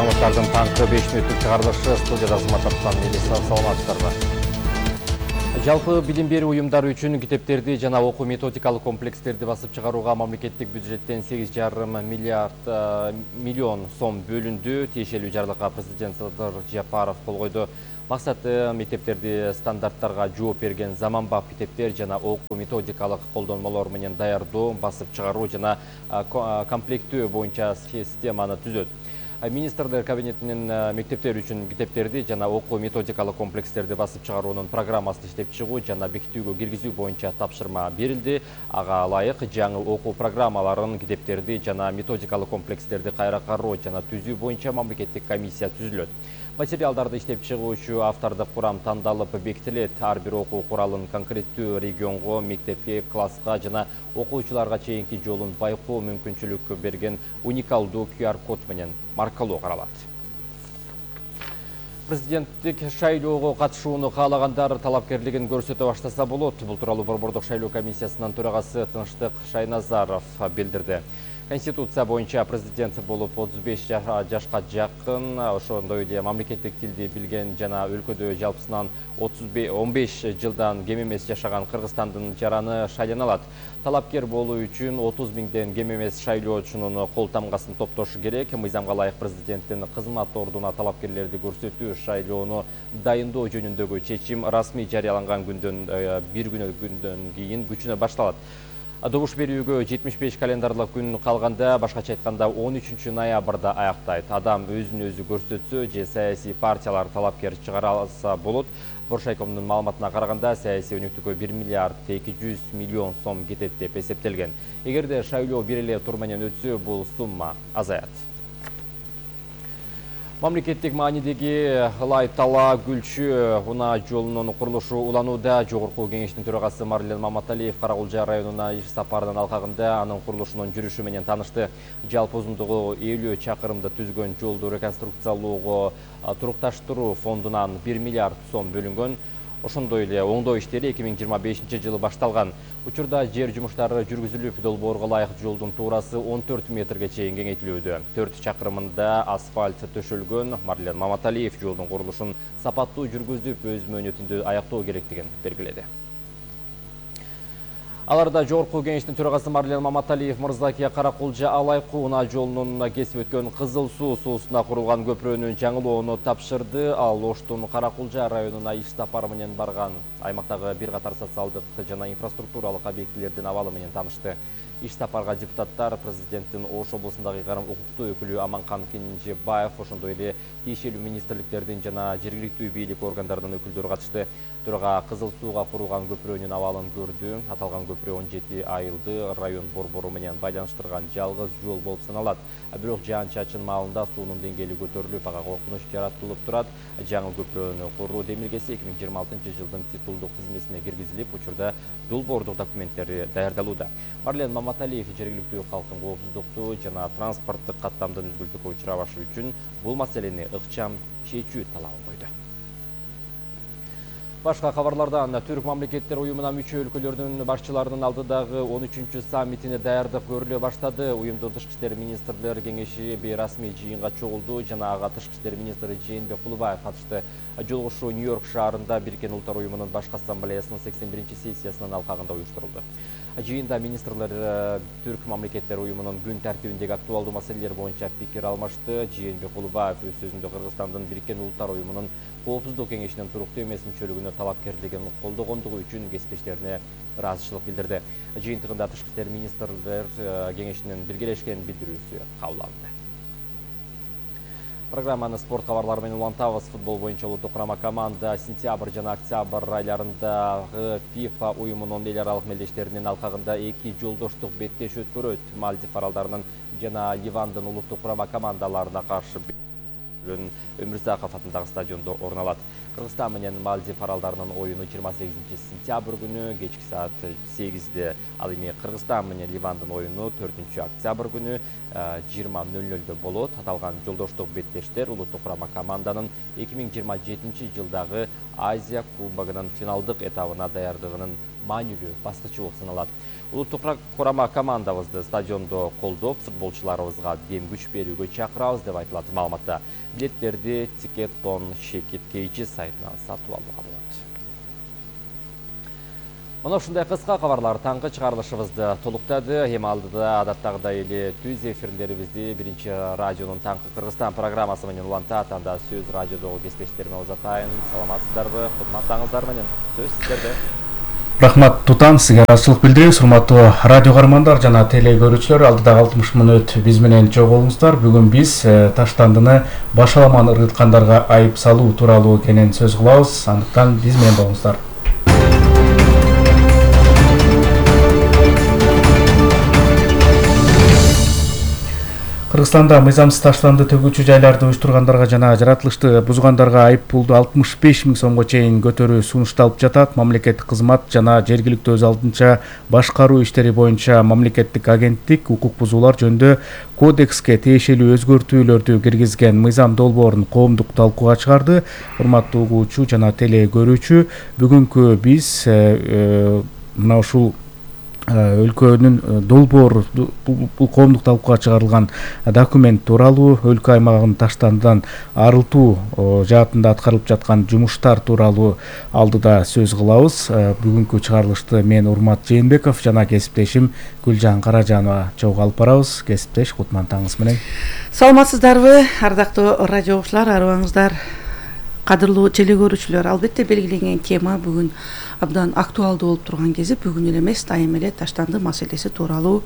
Жаңылыктардын таңкы 5 мүнөттүк чыгарылышы студияда сыматтан милиция саламатсыздарбы. Жалпы билим берүү уюмдары үчүн китептерди жана окуу методикалык комплекстерди басып чыгарууга мамлекеттик бюджеттен 8,5 миллион сом бөлүндү. Тиешелүү жарлыкка президент Садыр Жапаров кол койду. Максаты мектептерди стандарттарга жооп берген заманбап китептер жана окуу методикалык колдонмолор менен даярдоо, басып чыгаруу жана комплектөө боюнча системаны түзөт. Министрлер кабинетинин мектептер үчүн китептерди жана окуу методикалык комплекстерди басып чыгаруунун программасын иштеп чыгуу жана бекитүүгө киргизүү боюнча тапшырма берилди. Ага ылайык жаңы окуу программаларын, китептерди жана методикалык комплекстерди кайра кароо жана түзүү боюнча мамлекеттик комиссия түзүлөт. Материалдарды иштеп чыгуучу автордук курам тандалып бекитилет. Ар бир окуу куралын конкреттүү регионго, мектепке, класска жана окуучуларга чейинки жолун байкоо мүмкүнчүлүк берген уникалдуу QR-код менен маркалоо каралат. Президенттик шайлоого катышууну каалагандар талапкерлигин көрсөтө баштаса болот. Бул тууралуу Борбордук шайлоо комиссиясынын төрагасы Тынчтык Шайназаров билдирди. Конституция боюнча президент болуп 35 жашка жакын, ошондой эле мамлекеттик тилди билген жана өлкөдө жалпысынан 15 жылдан кем эмес жашаган Кыргызстандын жараны шайлана алат. Талапкер болуу үчүн 30 миңден кем эмес шайлоочунун кол тамгасын топтошу керек. Мыйзамга ылайык президенттин кызмат ордуна талапкерлерди көрсөтүү шайлоону дайындоо жөнүндөгү чечим расмий жарыяланган күндөн бир күндөн кийин күчүнө башталат. Добуш берүүгө 75 календарлык күн калганда, башкача айтканда 13 ноябрда аяктайт. Адам өзүн өзү көрсөтсө же саясий партиялар талапкер чыгара алса болот. Боршайкомдун маалыматына караганда, саясий өнүктүүгө 1 миллиард 200 миллион сом кетет деп эсептелген. Эгерде шайлоо бир эле тур менен өтсө, бул сумма азаят. Мамлекеттик маанидеги Ылай-Тала Гүлчү унаа жолунун курулушу уланууда. Жогорку кеңештин төрагасы Марлен Маматалиев Каракулжа районуна иш сапарынын алкагында анын курулушунун жүрүшү менен таанышты. Жалпы узундугу 50 чакырымды түзгөн жолду реконструкциялоого турукташтыруу фондунан 1 миллиард сом бөлүнгөн. Ошондой эле оңдоо иштери 2025 жылы башталган. Учурда жер жумуштары жүргүзүлүп, долбоорго ылайык жолдун туурасы 14 метрге чейин кеңейтилүүдө. 4 чакырымында асфальт төшөлгөн. Марлен Маматалиев жолдун курулушун сапаттуу жүргүзүп, өз мөөнөтүндө аяктоо керектигин белгиледи. Аларда жогорку кеңештин төрагасы Марлен Маматалиев мырзаки Каракулжа Алайкы унаа жолунун кесип өткөн Кызыл суу суусуна курулган көпүрөнү жаңылоону тапшырды. Ал Оштун Каракулжа районуна иш сапары менен барган. Аймактагы бир катар социалдык жана инфраструктуралык объектилердин абалы менен таанышты. Иш сапарга депутаттар, президенттин Ош облусундагы укуктуу өкүлү Аманкан Кенжебаев, ошондой эле тиешелүү министрликтердин жана жергиликтүү бийлик органдарынын өкүлдөрү катышты. Төрага Кызыл сууга курулган көпүрөнүн абалын көрдү. Аталган көпүрө 17 айылды район борбору менен байланыштырган жалгыз жол болуп саналат. Бирок жаан-чачын маалында суунун деңгээли көтөрүлүп, ага коркунуч жаратылып турат. Жаңы көпүрөнү куруу демилгеси 2026 жылдын титулдук тизмесине киргизилип, учурда долбоордук документтери даярдалууда. Марлен Маматалиев жергиликтүү калктын коопсуздукту жана транспорттук каттамдын үзгүлтүккө учурабашы үчүн бул маселени ыкчам чечүү талабын койду. Башка кабарлардан Түрк мамлекеттер уюмуна мүчө өлкөлөрдүн башчыларынын алдыдагы 13-чү саммитине даярдык көрүлө баштады. Уюмдун тышкы иштер министрлер кеңеши бейрасмий жыйынга чогулду жана ага тышкы иштер министри Жээнбек Кулубаев катышты. Жолугушуу Нью-Йорк шаарында Бириккен Улуттар уюмунун башкы ассамблеясынын 81-чи сессиясынын алкагында уюштурулду. Жыйында министрлер Түрк мамлекеттер уюмунун күн тартибиндеги актуалдуу маселелер боюнча пикир алмашты. Жээнбек Кулубаев өз сөзүндө Кыргызстандын Бириккен Улуттар уюмунун Коопсуздук кеңешинин туруктуу эмес мүчөлүгүнө талапкерлигин колдогондугу үчүн кесиптештерине ыраазычылык билдирди. Жыйынтыгында тышкы иштер министрлер кеңешинин биргелешкен билдирүүсү кабыл алынды. Программаны спорт кабарлары менен улантабыз. Футбол боюнча улуттук курама команда сентябрь жана октябрь айларындагы FIFA уюмунун эл аралык мелдештеринин алкагында 2 жолдоштук беттеш өткөрөт. Мальдив аралдарынын жана Ливандын улуттук курама командаларына каршы Өмүрзаков атындагы стадиондо орун алат. Кыргызстан менен Мальдив аралдарынын оюну 28 сентябрь күнү кечки саат 8-де, ал эми Кыргызстан менен Ливандын оюну 4 октябрь күнү 20:00 болот. Аталган жолдоштук беттештер улуттук курама команданын 2027 жылдагы Азия кубогунун финалдык этабына даярдыгынын маанилүү баскычы болуп саналат. Улуттук курама командабызды стадиондо колдоп, футболчуларыбызга дем күч берүүгө чакырабыз деп айтылат маалыматта. Билеттерди Ticket.com/KG сайтынан сатып алууга болот. Мына ушундай кыска кабарлар таңкы чыгарылышыбызды толуктады. Эми алдыда адаттагыдай эле түз эфирлерибизди Биринчи радионун таңкы Кыргызстан программасы менен улантат. Анда сөз радиодогу кесиптештериме узатайын. Саламатсыздарбы? Кудматтаңыздар менен сөз сиздерде. Рахмат Тутан, сизге ыраазычылык билдиребиз. Урматтуу радио кармандар жана теле көрүүчүлөр, алдыдагы 60 мүнөт биз менен чогулуңуздар. Бүгүн биз Таштандыны башаламан ыргыткандарга айып салуу тууралуу кенен сөз кылабыз. Андыктан биз менен болуңуздар. Кыргызстанда мыйзамсыз таштанды төгүүчү жайларды уюштургандарга жана жаратылышты бузгандарга айып пулду 65 000 сомго чейин көтөрүү сунушталып жатат. Мамлекеттик кызмат жана жергиликтүү өз алдынча башкаруу иштери боюнча мамлекеттик агенттик укук бузуулар жөнүндө кодекске тиешелүү өзгөртүүлөрдү киргизген мыйзам долбоорун коомдук талкууга чыгарды. Урматтуу угуучу жана теле көрүүчү, бүгүнкү биз мына ушул өлкөнүн долбоору, бул коомдук талкууга чыгарылган документ тууралуу, өлкө аймагын таштандыдан арылтуу жаатында аткарылып жаткан жумуштар тууралуу алдыда сөз кылабыз. Бүгүнкү чыгарылышты мен Урмат Жээнбеков жана кесиптешим Гүлжан Каражанова чогуу алып барабыз. Кесиптеш, кутман таңыңыз менен. Саламатсыздарбы, ардактуу радио окуучулар, арыбаңыздар. Кадырлуу теле көрүүчүлөр, албетте белгиленген тема бүгүн абдан актуалдуу болуп турган кези, бүгүн эле эмес, дайым эле таштанды маселеси тууралуу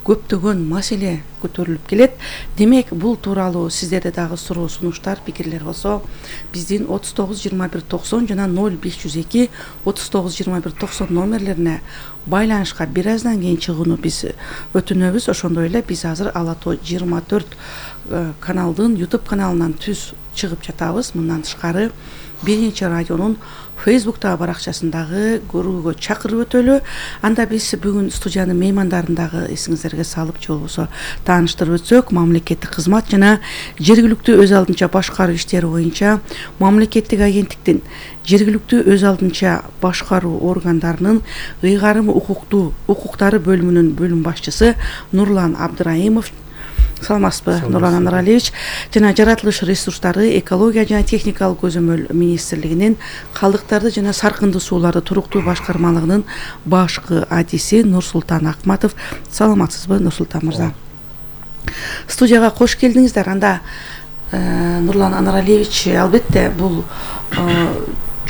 көптөгөн маселе көтөрүлүп келет. Демек, бул тууралуу сиздерде дагы суроо, сунуштар, пикирлер болсо, биздин 39-21-90 жана 0502 39-21-90 номерлерине байланышка бир аздан кийин чыгууну биз өтүнөбүз. Ошондой эле биз азыр Ала Тоо 24 каналдын YouTube каналынан түз чыгып жатабыз. Мындан тышкары Биринчи радионун Facebook'тагы баракчасындагы көрүүгө чакырып өтөлү. Анда биз бүгүн студиянын меймандарын дагы эсиңиздерге салып же болбосо тааныштырып өтсөк, мамлекеттик кызмат жана жергиликтүү өз алдынча башкаруу иштери боюнча мамлекеттик агенттиктин жергиликтүү өз алдынча башкаруу органдарынын ыйгарым укуктары бөлүмүнүн бөлүм башчысы Нурлан Абдыраимов, саламатсызбы Нурлан Анаралиевич, жана жаратылыш ресурстары, экология жана техникалык көзөмөл министрлигинин калдыктарды жана саркынды сууларды туруктуу башкармалыгынын башкы адиси Нурсултан Акматов. Саламатсызбы Нурсултан мырза? Студияга кош келдиңиздер. Анда Нурлан Анаралиевич, албетте бул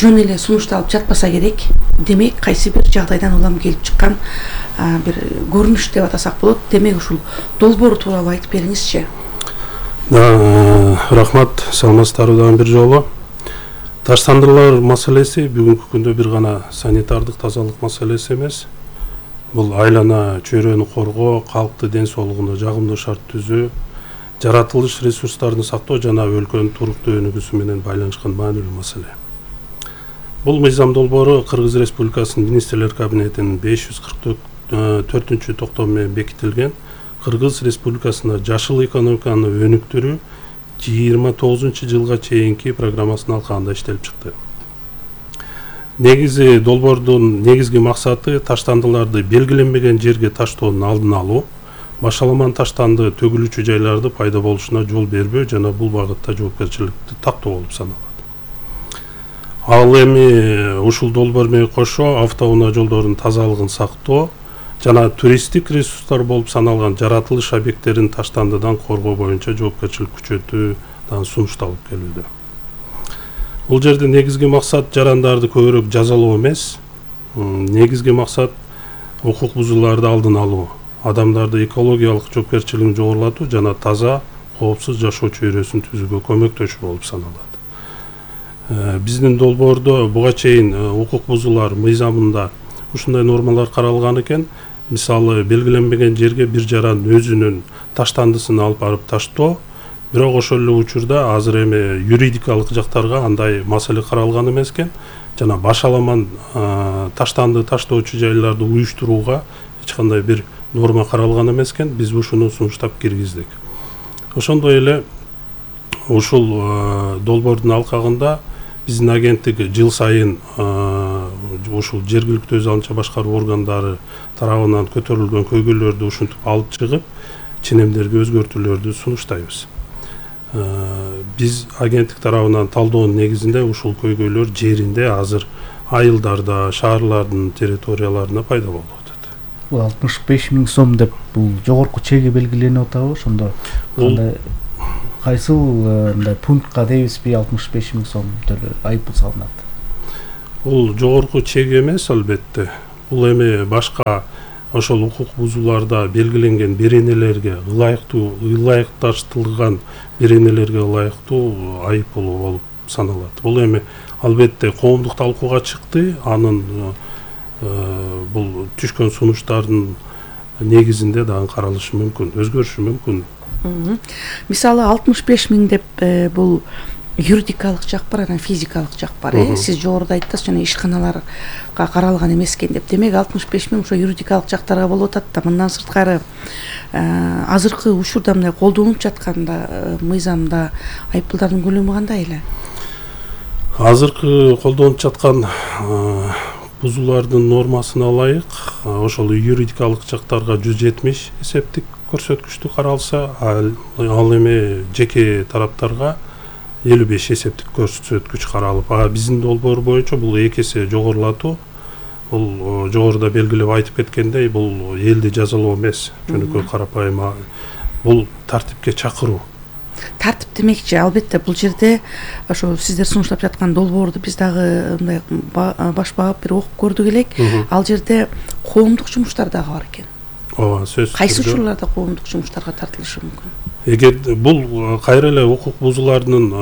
жөн эле сунушталып жатпаса керек. Демек, кайсы бир жагдайдан улам келип чыккан бир көрүнүш деп атасак болот. Демек, ушул долбоор тууралуу айтып бериңизчи. Рахмат, саламатсыздарбы дагы бир жолу. Таштандылар маселеси бүгүнкү күндө бир гана санитардык тазалык маселеси эмес. Бул айлана чөйрөнү коргоо, калктын ден соолугуна жагымдуу шарт түзүү, жаратылыш ресурстарын сактоо жана өлкөнүн туруктуу өнүгүүсү менен байланышкан маанилүү маселе. Бул мыйзам долбоору Кыргыз Республикасынын Министрлер кабинетинин 544 токтому менен бекитилген Кыргыз Республикасына жашыл экономиканы өнүктүрүү 29-жылга чейинки программасынын алкагында иштелип чыкты. Негизи долбоордун негизги максаты таштандыларды белгиленбеген жерге таштоонун алдын алуу, башаламан таштанды төгүлүүчү жайларды пайда болушуна жол бербөө жана бул багытта жоопкерчиликти тактоо болуп саналат. Ал эми ушул долбоор менен кошо автоунаа жолдордун тазалыгын сактоо жана туристтик ресурстар болуп саналган жаратылыш объекттерин таштандыдан коргоо боюнча жоопкерчилик күчөтүү дагы сунушталып келүүдө. Бул жерде негизги максат жарандарды көбүрөөк жазалоо эмес, негизги максат укук бузууларды алдын алуу, адамдарды экологиялык жоопкерчилигин жогорулатуу жана таза, коопсуз жашоо чөйрөсүн түзүүгө көмөктөшүү болуп саналат. Биздин долбоордо буга чейин укук бузуулар мыйзамында ушундай нормалар каралган экен. Мисалы, белгиленбеген жерге бир жаран өзүнүн таштандысын алып барып таштоо, бирок ошол эле учурда азыр эми юридикалык жактарга андай маселе каралган эмес экен. Жана башаламан таштанды таштоочу жайларды уюштурууга эч кандай бир норма каралган эмес экен. Биз ушуну сунуштап киргиздик. Ошондой эле ушул долбоордун алкагында биздин агенттик жыл сайын ушул жергиликтүү өз алынча башкаруу органдары тарабынан көтөрүлгөн көйгөйлөрдү ушинтип алып чыгып ченемдерге өзгөртүүлөрдү сунуштайбыз. Биз агенттик тарабынан талдоонун негизинде ушул көйгөйлөр жеринде азыр айылдарда, шаарлардын территорияларында пайда болуп атат. Бул 65 000 сом деп бул жогорку чеги белгиленип атабы? Ошондо кандай кайсыл мындай пунктка дейбизби 65 000 сом айыппул салынат? Бул жогорку чек эмес албетте. Бул эми башка ошол укук бузууларда белгиленген беренелерге ылайыкташтырылган беренелерге ылайыктуу айыппул болуп саналат. Бул эми албетте коомдук талкууга чыкты. Анын бул түшкөн сунуштардын негизинде дагы каралышы мүмкүн, өзгөрүшү мүмкүн. Мисалы 65 000 деп бул юридикалык жак бар, анан физикалык жак бар. Сиз жогоруда айттыңыз, жана ишканаларга каралган эмес экен деп. Демек 65 000 ошо юридикалык жактарга болуп атат да. Мындан сырткары азыркы учурда мындай колдонулуп жатканда мыйзамда айыппулдардын көлөмү кандай эле? Азыркы колдонуп жаткан бузуулардын нормасына ылайык ошол юридикалык жактарга 170 эсептик көрсөткүчтү каралса, ал эми жеке тараптарга 55 эсептик көрсөткүч каралып, биздин долбоор боюнча бул 2 эсе жогорулатуу. Бул жогоруда белгилеп айтып кеткендей, бул элди жазалоо эмес, жөнөкөй карапайым бул тартипке чакыруу. Тартип демекчи, албетте бул жерде ошо сиздер сунуштап жаткан долбоорду биз дагы мындай баш багып бир окуп көрдүк элек. Ал жерде коомдук жумуштар дагы бар экен. Ооба, сөзсүз. Кайсы учурларда коомдук жумуштарга тартылышы мүмкүн? Эгер бул кайра эле укук бузуулардын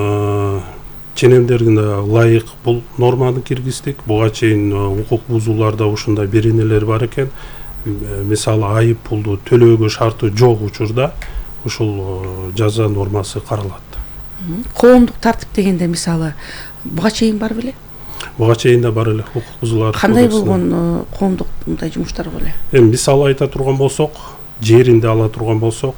ченемдерине ылайык бул норманы киргиздик. Буга чейин укук бузууларда ушундай беренелер бар экен. Мисалы айыппулду төлөөгө шарты жок учурда ушул жаза нормасы каралат. Коомдук тартип дегенде мисалы буга чейин бар беле? Буга чейин да бар эле укук бузуулар. Кандай болгон коомдук мындай жумуштар беле? Эми мисал айта турган болсок, жеринде ала турган болсок,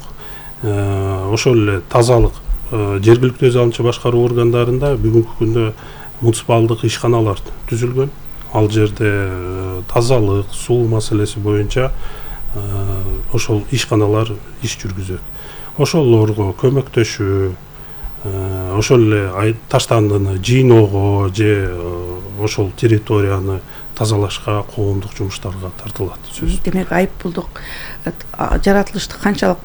ошол эле тазалык жергиликтүү өз алынча башкаруу органдарында бүгүнкү күндө муниципалдык ишканалар түзүлгөн. Ал жерде тазалык, суу маселеси боюнча ошол ишканалар иш жүргүзөт. Ошолорго көмөктөшүү, ошол эле таштандыны жыйноого же ошол территорияны тазалашка, коомдук жумуштарга тартылат. Демек айыппулдук жаратылышты канчалык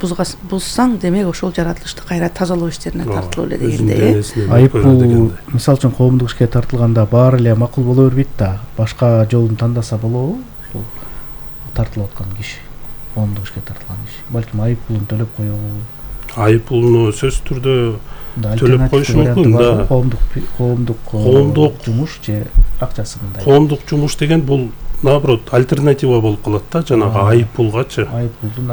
бузсаң, демек ошол жаратылышты кайра тазалоо иштерине тартылуу эле дегенде. Айыппул мисалы үчүн коомдук ишке тартылганда баары эле макул боло бербейт да. Башка жолун тандаса болобу? Ошол тартылып аткан киши, коомдук ишке тартылган киши. Балким айыппулун төлөп коебу? Айыппулуну сөзсүз түрдө төлөп коюш мүмкүн да. Коомдук жумуш же акчасы мындай. Коомдук жумуш деген бул наоборот альтернатива болуп калат да, жанагы айыппулгачы. Айыппулдун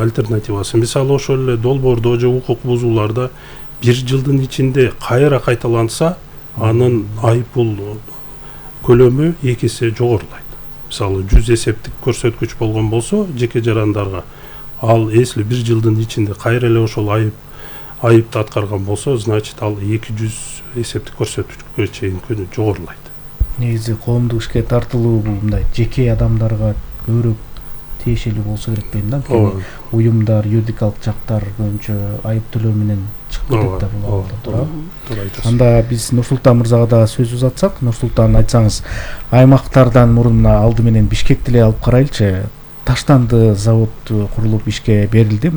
альтернативасы. Мисалы ошол эле долбоордо же укук бузууларда 1 жылдын ичинде кайра кайталанса, анын айыппул көлөмү 2 эсе жогорулайт. Мисалы 100 эсептик көрсөткүч болгон болсо жеке жарандарга, ал если 1 жылдын ичинде кайра эле ошол айыпты аткарган болсо, значит ал 200 эсептик көрсөткүчкө чейин жогорулайт. Негизи коомдук ишке тартылуу бул мындай жеке адамдарга көбүрөөк тиешелүү болсо керек дейм да. Уюмдар, юридикалык жактар боюнча айып төлөө менен чыгып кетет да бул. Туура айтасыз. Анда биз Нурсултан мырзага да сөз узатсак, Нурсултан, айтсаңыз, аймактардан мурун алды менен Бишкекти эле алып карайлычы. Таштанды завод курулуп ишке берилди.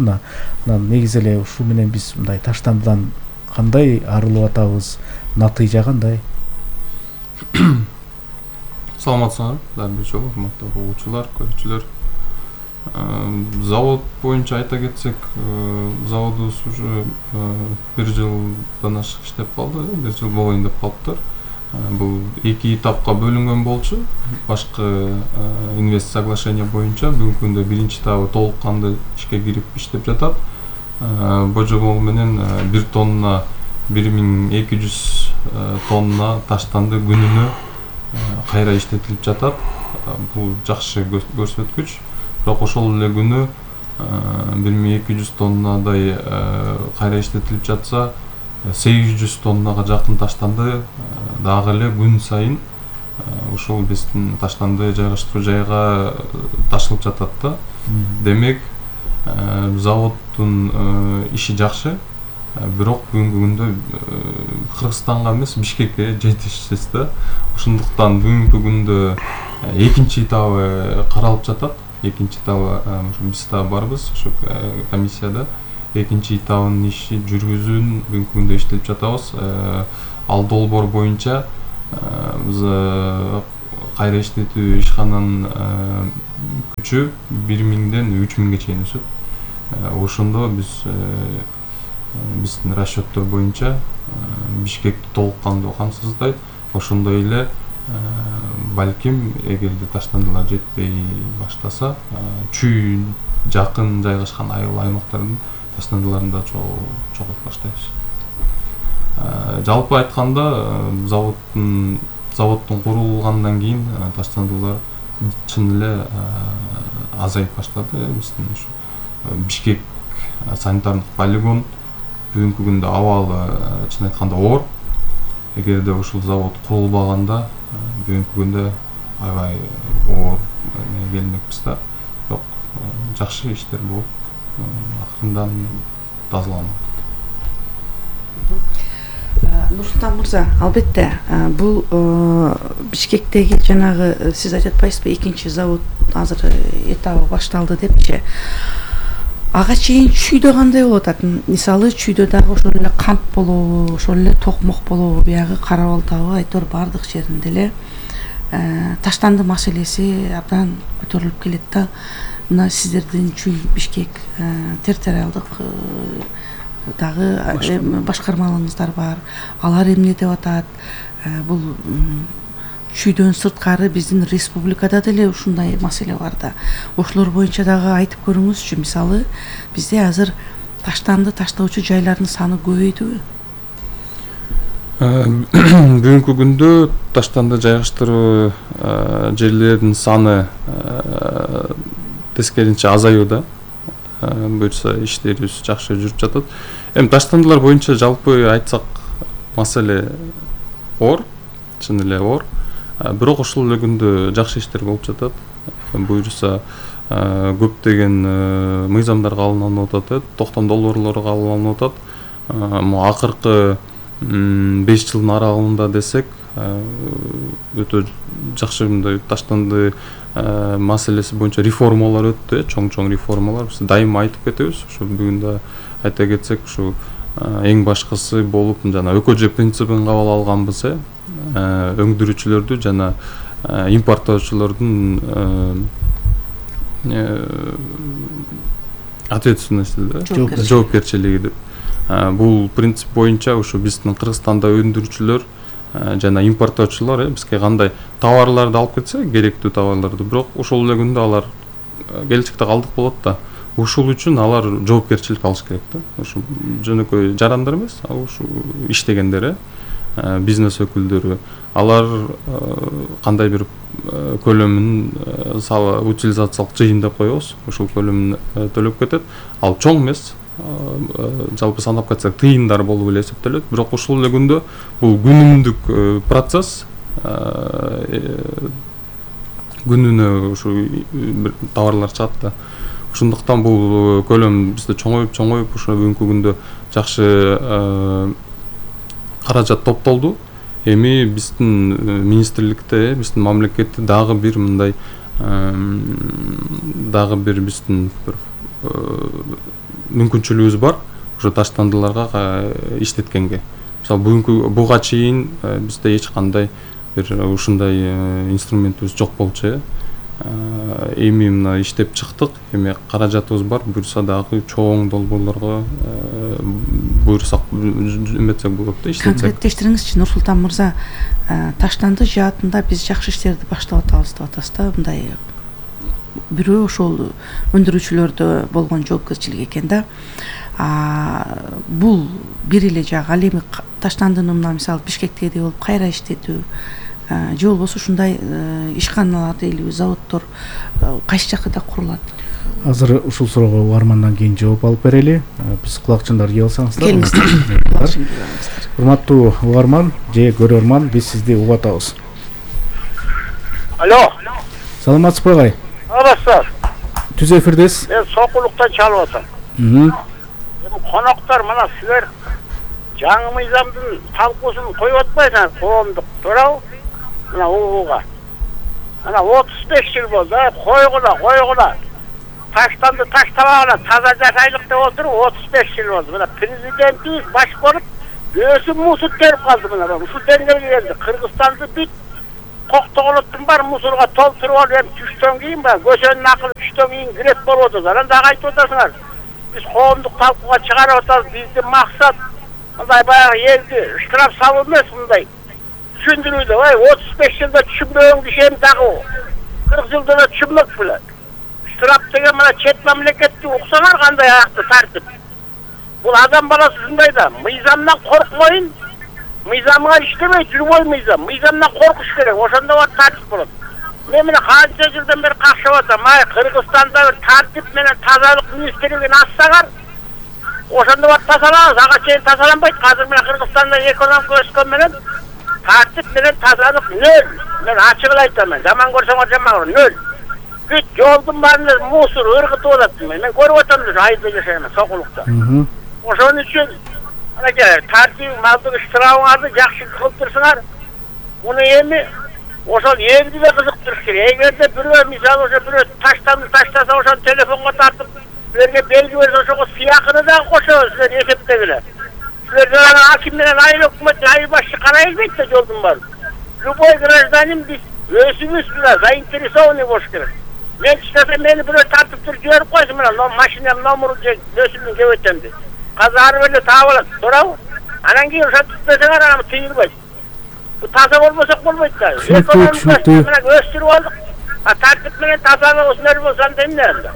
Анан негизи эле ушул менен биз мындай таштандыдан кандай арылып атабыз, натыйжа кандай? Саламатсыңар, баары жок, урматтуу угуучулар, көрүүчүлөр. Завод боюнча айта кетсек, заводубуз уже 1 жылдан ашык иштеп калды, 1 жыл болоюн деп калыптыр. Бул 2 этапка бөлүнгөн болчу. Башкы инвест соглашение боюнча бүгүнкү күндө 1-чи этабы толук канды ишке кирип иштеп жатат. Божобол менен 1 тонна 1200 тонна таштанды күнүнө кайра иштетилип жатат. Бул жакшы көрсөткүч. Бирок ошол эле күнү 1200 тоннадай кайра иштетилип жатса, 800 тоннага жакын таштанды дагы эле күн сайын ушул биздин таштанды жайгаштыруу жайга ташылып жатат да. Демек заводдун иши жакшы, бирок бүгүнкү күндө Кыргызстанга эмес Бишкекке жетишсиз да. Ошондуктан бүгүнкү күндө экинчи этабы каралып жатат. Экинчи этабы биз да барбыз ошо комиссияда. Экинчи этабынын иши жүргүзүүнү бүгүнкү күндө иштелип жатабыз. Ал долбоор боюнча биз кайра иштетүү ишкананын күчү 1000ден 3000ге чейин өсөт. Ошондо биздин расчеттор боюнча Бишкекти толук кандуу камсыздайт. Ошондой эле балким эгерде таштандылар жетпей баштаса, чүй жакын жайгашкан айыл аймактардын таштандыларын да чогултуп баштайбыз. Жалпы айтканда заводдун курулгандан кийин таштандылар чын эле азайып баштады. Биздин ушу Бишкек санитардык полигон бүгүнкү күндө абалы чын айтканда оор. Эгерде ушул завод курулбаганда бүгүнкү күндө аябай оор келмекпиз да. Бирок жакшы иштер болуп акырындан тазаланат. Нурсултан мырза, албетте бул Бишкектеги жанагы сиз айтып атпайсызбы, экинчи завод азыр этабы башталды депчи. Ага чейин чүйдө кандай болуп атат? Мисалы чүйдө дагы ошол эле кант болобу, ошол эле токмок болобу, биягы Кара-Балтабы айтор бардык жеринде эле таштанды маселеси абдан көтөрүлүп келет да. Мына сиздердин чүй Бишкек территориалдык дагы башкармаларыңыздар бар. Алар эмне деп атат? Бул чүйдөн сырткары биздин республикада деле ушундай маселе бар да. Ошолор боюнча дагы айтып көрүңүзчү. Мисалы, бизде азыр таштанды таштоочу жайлардын саны көбөйдүбү? Бүгүнкү күндө таштанды жайгаштыруу жерлердин саны тескерисинче азаюуда. Буюрса иштерибиз жакшы жүрүп жатат. Эми таштандылар боюнча жалпы айтсак маселе оор, чын эле оор. Бирок ошол эле күндө жакшы иштер болуп жатат. Буюрса көптөгөн мыйзамдар кабылданып атат, токтом долбоорлору кабылданып атат. Акыркы 5 жылдын аралыгында десек, өтө жакшы мындай таштанды маселеси боюнча реформалар өттү, чоң реформалар. Биз дайыма айтып кетебиз. Ушу бүгүн да айта кетсек, ушу эң башкысы болуп жана ÖKG принцибин кабыл алганбыз, өңдүрүүчүлөрдү жана импорттоочулордун ответственности, жоопкерчилиги деп. Бул принцип боюнча ушу биздин Кыргызстанда өндүрүүчүлөр жана импорттоочулар бизге кандай товарларды алып кетсе, керектүү товарларды, бирок ошол эле күндө алар келечекте калдык болот да. Ушул үчүн алар жоопкерчилик алыш керек да. Ушу жөнөкөй жарандар эмес, ушу иштегендер, бизнес өкүлдөрү. Алар кандай бир көлөмүн утилизациялык жыйын деп коебуз, ушул көлөмүн төлөп кетет. Ал чоң эмес. Жалпы санап кетсек тыйындар болуп эле эсептелет. Бирок ушул эле күндө бул күнүмдүк процесс, күнүнө ушу бир товарлар чыгат да. Ошондуктан бул көлөм бизде чоңоюп ошо бүгүнкү күндө жакшы каражат топтолду. Эми биздин министрликте, биздин мамлекетте дагы бир мындай дагы бир биздин бир мүмкүнчүлүгүбүз бар ошо таштандыларга иштеткенге. Мисалы буга чейин бизде эч кандай бир ушундай инструментибиз жок болчу. Эми мына иштеп чыктык. Эми каражатыбыз бар. Буюрса дагы чоң долбоорлорго буюрсак эметсек болот да, иштетсек. Конкреттештириңизчи, Нурсултан мырза, таштанды жаатында биз жакшы иштерди баштап атабыз деп атасыз да, мындай бирөө ошол өндүрүүчүлөрдө болгон жоопкерчилик экен да. Бул бир эле жак. Ал эми таштандыны мына мисалы Бишкектеги болуп кайра иштетүү же болбосо ушундай ишканалар дейли, заводдор кайсы жакта курулат? Азыр ушул суроого угармандан кийин жооп алып берели. Биз кулакчындар кийип алсаңыздар. Келиңиздер. Урматтуу угарман же көрөрман, биз сизди угуп атабыз. Алло. Саламатсызбы агай? Саламатсыз. Түз эфирдесиз. Мен Сокулуктан чалып атам. Коноктор мына силер жаңы мыйзамдын талкуусун коюп атпайсыңар, коомдук, туурабы? Мына ууга. Мына 35 жыл болду, койгула. Таштанды таштабагыла таза жашайлык деп отуруп 35 жыл болду. Мына президентибиз баш болуп өзү мусор терип калды мына. Ушул деңгээлге келди. Кыргызстанды бүт Коктогулуттун бар мусорго толтуруп алып, эми түштөн кийин баягы көчөнүн акылы түштөн кийин кирет болуп атат. Анан дагы айтып атасыңар. Биз коомдук талкууга чыгарып атабыз. Биздин максат мындай баягы элди штраф салуу эмес, мындай түшүндүрүүдө. 35 жылда түшүнбөгөн киши эми дагы 40 жылда да түшүнмөк беле. Штраф деген мына чет мамлекетти уксаңар кандай аякты тартип. Бул адам баласы ушундай да, мыйзамдан коркпойн, мыйзамга иштебейт, любой мыйзам. Мыйзамдан коркуш керек, ошондо бар тартип болот. Мен мына канча жылдан бери какшап атам. Кыргызстанда бир тартип менен тазалык министрлигин ачсаңар, ошондо бар тазалабыз. Ага чейин тазаланбайт. Азыр мына Кыргызстанда экономика өскөн менен тартип менен тазалык нөл. Мен ачык эле айтам, жаман көрсөңөр жаман, нөл. Бүт жолдун баарында мусор ыргытып атат. Мен көрүп атам, айда жашайм Сокулукта. Ошон үчүн анакей тартип малдык штрафыңарды жакшы кылып турсаңар, муну эми ошол элди да кызыктырыш керек. Эгерде бирөө мисалы ошо бирөө таштаса, ошону телефонго тартып, силерге белги берсе, ошого сыякыны дагы кошобуз, силер эсептегиле. Силер жана аким менен айыл өкмөт, айыл башчы карай элбейт да жолдун баарын. Любой гражданин биз өзүбүз мына заинтересованный болуш керек. Мен чыгаса мени бирөө тартып туруп жиберип койсун, мына машинам номеру же өсүмдүн кебетемди. Казар беле таап алат, туурабы? Анан кийин ошентип берсеңер анан тыйылбайт. Бу таза болбосок болбойт да. Экономиканы өстүрүп алдык. Тартип менен тазалык ушундай болсо анда эмне анда?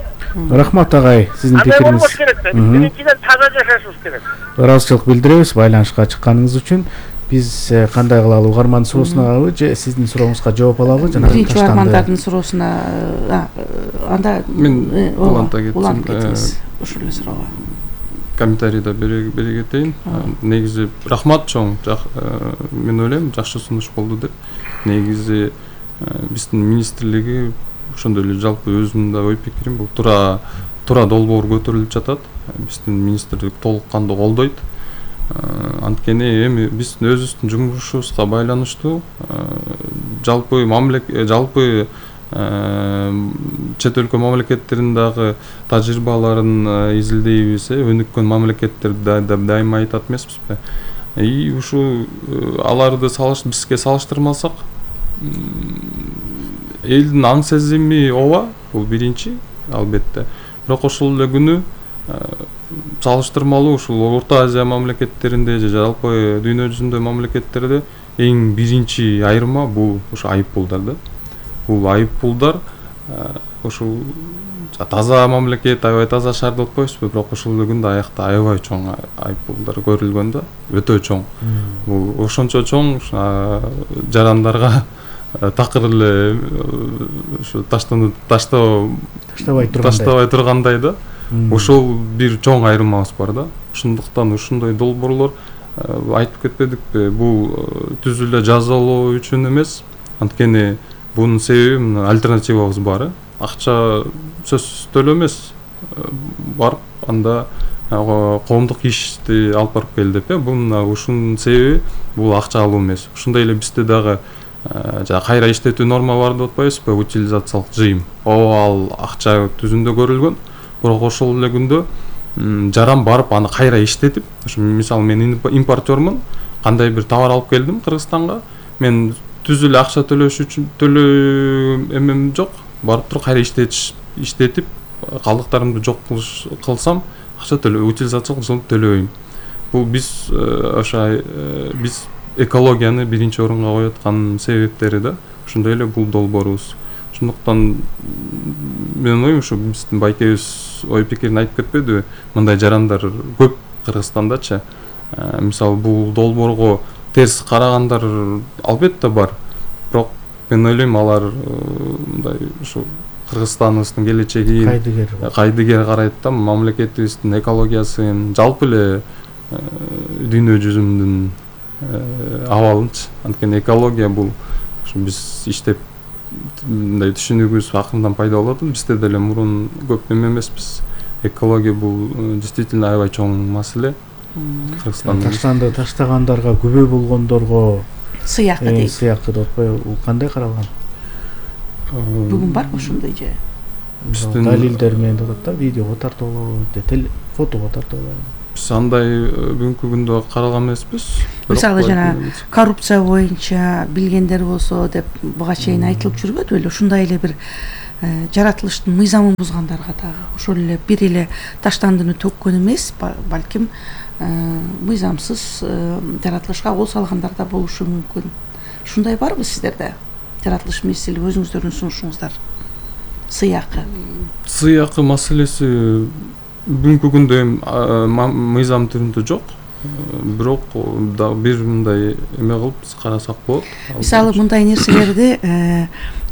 Рахмат агай, сиздин пикириңиз. Андай болбош керек да. Биринчиден таза жашашыбыз керек. Ыраазычылык билдиребиз байланышка чыкканыңыз үчүн. Биз кандай кылалы, угармандын суроосуна алабы же сиздин сурооңузга жооп алабы? Жана биринчи угармандардын суроосуна анда мен уланта кетсеңиз ушул эле суроого комментарийда бере кетейин. Негизи рахмат чоң. Мен ойлойм жакшы сунуш болду деп. Негизи биздин министрлиги ошондой эле жалпы өзүмдүн да ой пикирим бул тура долбоор көтөрүлүп жатат. Биздин министрлик толук кандуу колдойт. Анткени эми биздин өзүбүздүн жумушубузга байланыштуу жалпы чет өлкө мамлекеттериндагы тажрыйбаларын изилдейбиз, өнүккөн мамлекеттерди дайыма айтат эмеспизби? И ушу аларды бизге салыштырмасак, элдин аң сезими ооба, бул биринчи, албетте. Бирок ошол эле күнү салыштырмалуу ушул Орто Азия мамлекеттеринде же жалпы дүйнө жүзүндө мамлекеттерде эң биринчи айырма бул ушу айыппулдар да. Бул айыппулдар ушул таза мамлекет, аябай таза шаар деп атпайбызбы, бирок ошол эле күндө аякта аябай чоң айыппулдар көрүлгөн да, өтө чоң. Бул ошончо чоң жарандарга такыр эле ушу таштабай тургандай да. Ошол бир чоң айырмабыз бар да. Ошондуктан ушундай долбоорлор айтып кетпедикпи, бул түз эле жазалоо үчүн эмес, анткени бунун себеби альтернативабыз бар. Акча сөзсүз төлөө эмес, барып анда коомдук ишти алып барып кел деп, ушунун себеби бул акча алуу эмес. Ушундай эле бизде дагы кайра иштетүү норма бар деп атпайбызбы, утилизациялык жыйым. Ал акча түзүндө көрүлгөн. Бирок ошол эле күндө жаран барып аны кайра иштетип, мисалы мен импортёрмун, кандай бир товар алып келдим Кыргызстанга, мен түз эле акча төлөш үчүн эмем жок, барып туруп кайра иштетип калдыктарымды жок кылсам, акча утилизациялык жылын төлөбөйм. Бул биз биз экологияны биринчи орунга коюп аткан себептери да. Ошондой эле бул долбоорубуз. Ошондуктан мен ойлойм ушу биздин байкебиз ой пикирин айтып кетпедиби? Мындай жарандар көп Кыргызстандачы. Мисалы бул долбоорго терс карагандар албетте бар. Бирок мен ойлойм алар мындай ушу Кыргызстаныбыздын келечегин кайдыгер карайт да, мамлекетибиздин экологиясын, жалпы эле дүйнө жүзүнүн абалынчы. Анткени экология бул биз иштеп мындай түшүнүгүбүз акырындан пайда болот. Бизде деле мурун көп эмеспиз. Экология бул действительно аябай чоң маселе. Таштанды таштагандарга күбө болгондорго сыйакы дейт. Сыйакы деп атпайбы? Бул кандай каралган? Бүгүн барбы ушундай же? Далилдер менен деп атат да, видеого тартуулоо, фотого тартуулоо. Биз андай бүгүнкү күндө каралган эмеспиз. Мисалы жана коррупция боюнча билгендер болсо деп буга чейин айтылып жүрбөдү беле? Ушундай эле бир жаратылыштын мыйзамын бузгандарга дагы ошол эле бир эле таштандыны төккөн эмес, балким мыйзамсыз жаратылышка кол салгандар да болушу мүмкүн. Ушундай барбы сиздерде? Жаратылыш месели өзүңүздөрдүн сунушуңуздар. Сыйакы маселеси бүгүнкү күндө мыйзам түрүндө жок. Бирок бир мындай эме кылып биз карасак болот. Мисалы мындай нерселерди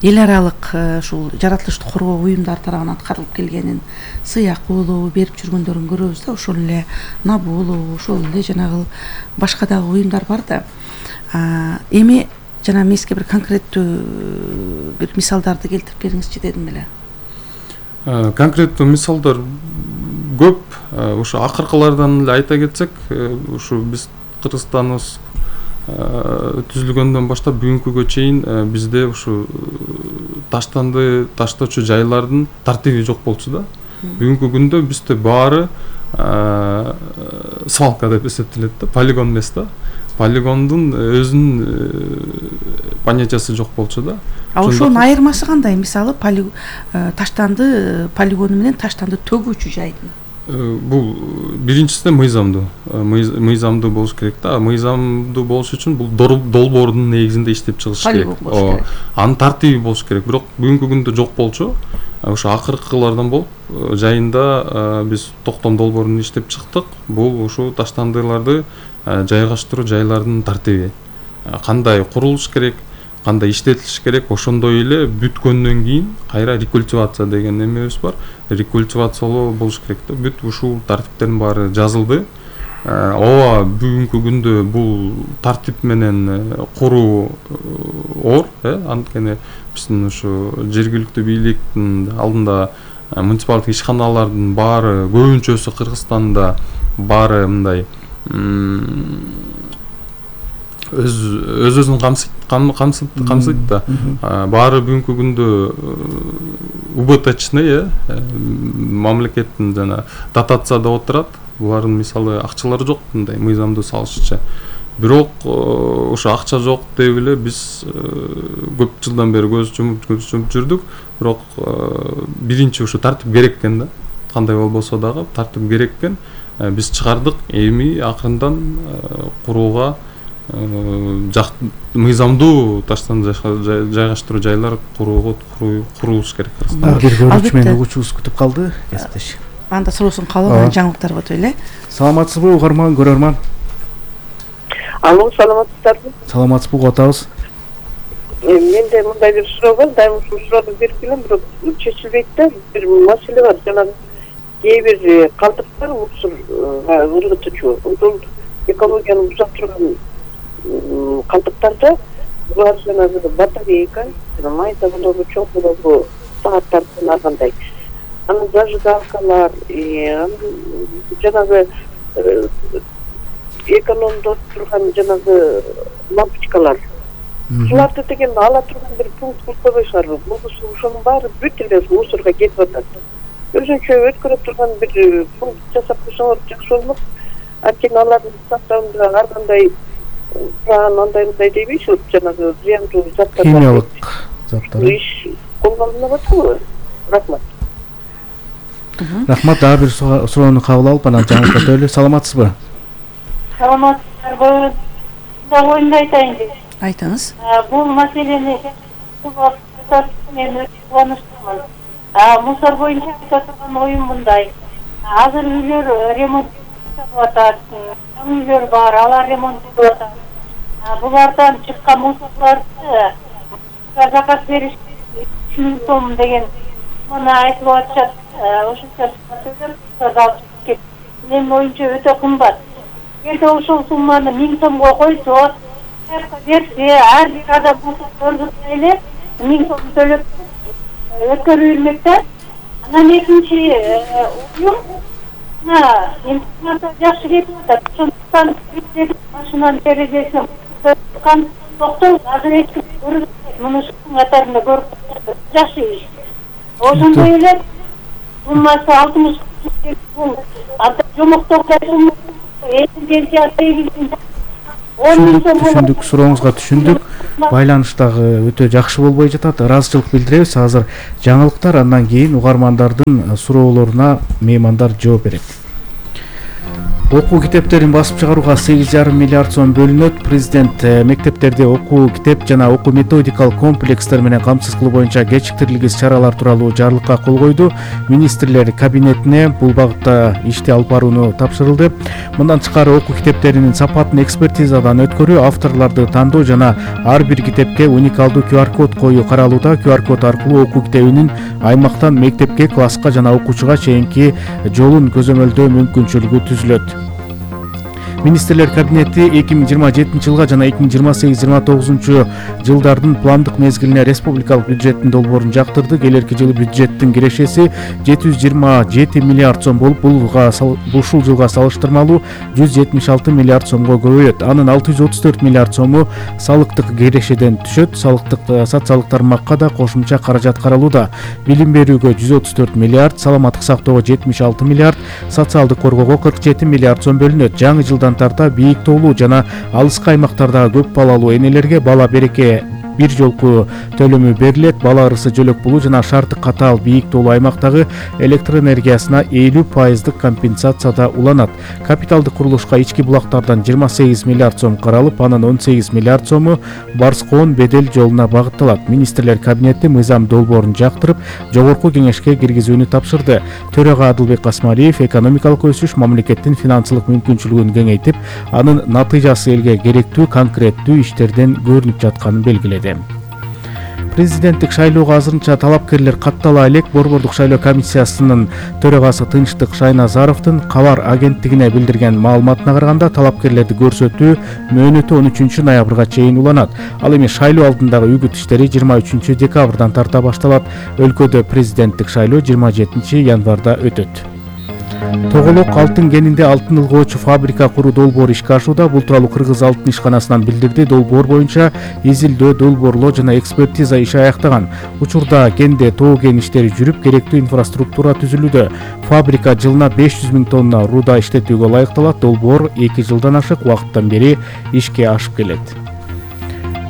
эл аралык ушул жаратылышты коргоо уюмдар тарабынан аткарылып келгенин, сыйакы болобу берип жүргөндөрүн көрөбүз да, ошол эле НАБУ болобу, ошол эле жанагы башка дагы уюмдар бар да. Эми жана эмеске бир конкреттүү бир мисалдарды келтирип бериңизчи дедим эле. Конкреттүү мисалдар көп. Ушу акыркылардан эле айта кетсек, ушу биз Кыргызстаныбыз түзүлгөндөн баштап бүгүнкүгө чейин бизде ушу таштанды таштоочу жайлардын тартиби жок болчу да. Бүгүнкү күндө бизде баары свалка деп эсептелет да, полигон эмес да. Полигондун өзүнүн понятиясы жок болчу да. Ошонун айырмасы кандай? Мисалы таштанды полигону менен таштанды төгүүчү жайдын. Бул биринчисинен мыйзамдуу болуш керек да. Мыйзамдуу болуш үчүн бул долбоордун негизинде иштеп чыгыш керек. Анын тартиби болуш керек. Бирок бүгүнкү күндө жок болчу. Ошо акыркылардан болуп жайында биз токтом долбоорун иштеп чыктык. Бул ушу таштандыларды жайгаштыруу жайлардын тартиби. Кандай курулуш керек, кандай иштетилиш керек, ошондой эле бүткөндөн кийин кайра рекультивация деген эмебиз бар. Рекультивациялоо болуш керек да. Бүт ушул тартиптердин баары жазылды. Ооба бүгүнкү күндө бул тартип менен куруу оор, анткени биздин ушу жергиликтүү бийликтин алдында муниципалдык ишканалардын баары көбүнчөсү Кыргызстанда баары мындай өзүн камсыйт да. Баары бүгүнкү күндө убыточный, мамлекеттин жана дотацияда отурат. Булардын мисалы акчалары жок, мындай мыйзамдуу салышча. Бирок ошо акча жок деп эле биз көп жылдан бери көз жумуп жүрдүк. Бирок биринчи ушу тартип керек экен да. Кандай болбосо дагы тартип керек экен. Биз чыгардык. Эми акырындан курууга мыйзамдуу таштан жайгаштыруу жайлар курулуш керек. Бир көрүүчү менен угуучубуз күтүп калды, кесиптеш. Анда суроосун кабыл жаңылыктар болот эле. Саламатсызбы угарман, көрөрман? Алло, саламатсыздарбы? Саламатсызбы, угуп атабыз. Менде мындай бир суроо бар, дайым ушул суроону берип келем, бирок чечилбейт да. Бир маселе бар, жанагы кээ бир калдыктар мусорга ыргытуучу, ошол экологияны бузап турган калдыктарда булар жанагы батарейка, май заводобу, чоң болобу, сааттардан аргандай. Анан зажигалкалар, жанагы экономдоп турган жанагы лампочкалар. Буларды деген ала турган бир пункт курбой шаарбы. Болбосо ошонун баары бүт эле мусорго кетип атат. Өзүнчө өткөрүп турган бир пункт жасап койсоңор жакшы болмок. Анткени алардын составында ар кандай андай дейбизби, жанагы зыяндуу заттар. Химиялык заттар. Иш колдонулуп атабы? Рахмат. Рахмат, дагы бир суроону кабыл алып, анан жаңылык өтөлү. Саламатсызбы? Саламатсыздарбы? Оюнду айтайын деп. Айтыңыз. Бул маселени мен өтө кубанычтамын. Мусор боюнча айта турган оюм мындай. Азыр үйлөр ремонт жасалып атат. Үйлөр бар, алар ремонттолуп атат. Булардан чыккан мусорларды заказ бериш 3 сом деген мына айтып атышат. Ошонча сөздөр менин оюмча өтө кымбат. Эгерде ошол сумманы 1000 сомго койсо, берсе, ар бир адам мусор эле 1000 сом төлөп өткөрүлмөк да. Анан экинчи уюм интернатта жакшы кетип атат. Ошондуктан машинанын терезесин токтоп азыр эч ким көрбөйт. Муну ушунун катарында көрүп жакшы иш. Ошондой эле суммасы 60 бул жомоктогудай сумма пенсия түшүндүк, сурооңузга түшүндүк. Байланыш дагы өтө жакшы болбой жатат. Ыраазычылык билдиребиз. Азыр жаңылыктар, андан кийин угармандардын суроолоруна меймандар жооп берет. Окуу китептерин басып чыгарууга 8,5 миллиард сом бөлүнөт. Президент мектептерде окуу китеп жана окуу методикалык комплекстер менен камсыз кылуу боюнча кечиктирилгис чаралар тууралуу жарлыкка кол койду. Министрлер кабинетине бул багытта ишти алып барууну тапшырылды. Мындан тышкары окуу китептеринин сапатын экспертизадан өткөрүү, авторлорду тандоо жана ар бир китепке уникалдуу QR-код коюу каралууда. QR-код аркылуу окуу китебинин аймактан мектепке, класска жана окуучуга чейинки жолун көзөмөлдөө мүмкүнчүлүгү түзүлөт. Министрлер кабинети 2027 жылга жана 2028-29 жылдардын пландык мезгилине республикалык бюджеттин долбоорун жактырды. Келерки жылы бюджеттин кирешеси 727 миллиард сом болуп, ушул жылга салыштырмалуу 176 миллиард сомго көбөйөт. Анын 634 миллиард сому салыктык кирешеден түшөт. Социалдык тармакка да кошумча каражат каралууда. Билим берүүгө 134 миллиард, саламаттык сактоого 76 миллиард, социалдык коргоого 47 миллиард сом бөлүнөт. Жаңы жылдан тарта бийик тоолуу жана алыскы аймактардагы көп балалуу энелерге бала береке бир жолку төлөмү берилет. Бала ырысы жөлөк болуу жана шарты катаал бийик тоолуу аймактагы электр энергиясына 50% компенсацияда уланат. Капиталдык курулушка ички булактардан 28 миллиард сом каралып, анын 18 миллиард сому Барскоон Бедел жолуна багытталат. Министрлер кабинети мыйзам долбоорун жактырып, жогорку кеңешке киргизүүнү тапшырды. Төрага Адылбек Касмалиев экономикалык өсүш мамлекеттин финансылык мүмкүнчүлүгүн кеңейтип, анын натыйжасы элге керектүү конкреттүү иштерден көрүнүп жатканын белгиледи. Президенттик шайлоого азырынча талапкерлер каттала элек. Борбордук шайлоо комиссиясынын төрагасы Тынчтык Шайназаровдун Кабар агенттигине билдирген маалыматына караганда, талапкерлерди көрсөтүү мөөнөтү 13 ноябрга чейин уланат. Ал эми шайлоо алдындагы үгүт иштери 23 декабрдан тарта башталат. Өлкөдө президенттик шайлоо 27 январда өтөт. Тоголок алтын кенинде алтын ылгоочу фабрика куруу долбоору ишке ашууда. Бул тууралуу Кыргыз алтын ишканасынан билдирди. Долбоор боюнча изилдөө, долбоорлоо жана экспертиза иши аяктаган. Учурда кенде тоо кен иштери жүрүп, керектүү инфраструктура түзүлүүдө. Фабрика жылына 500 000 тонна руда иштетүүгө ылайыкталат. Долбоор 2 жылдан ашык убакыттан бери ишке ашып келет.